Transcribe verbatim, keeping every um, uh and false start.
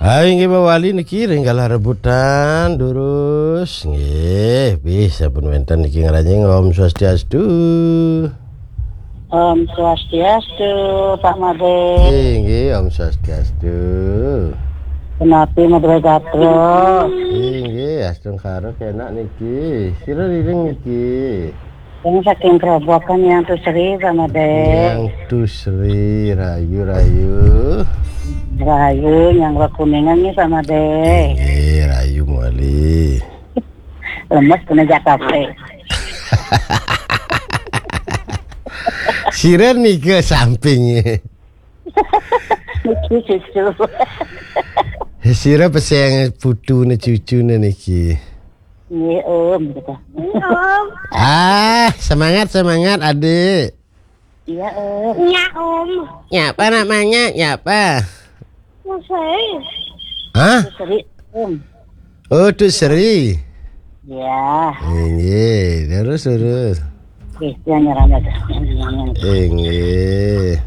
Hai, inggih mawali niki ring galah rebutan durus. Nggih, bisa pun wénten niki ngranjing. Om Swastiastu. Om Swastiastu, Pak Made. Inggih, Om Swastiastu. Punapi Madé Gatra? Inggih, astungkara kénak niki. Sira riring niki. Yang saking Grobogan, Yang Tusri, Pak Made. Yang Tusri, rayu-rayu. Rayu, Yang Kuningan nih, Pak Made. Inggih, rayu mawali. Lemes kena jatah. Sira nika samping. Niki cucu. Sira pesengan putune cucune niki. Nggih, Om, gitu. Om. Ah, semangat, semangat, Adik. Iya, Om. Nya, Om. Nyapa namanya? Nyapa? Tusri. Hah? Tusri, Om. Oh, Tusri. Ya. Inggih, terus, terus. Nggih, yang nyerang aja. Inggih.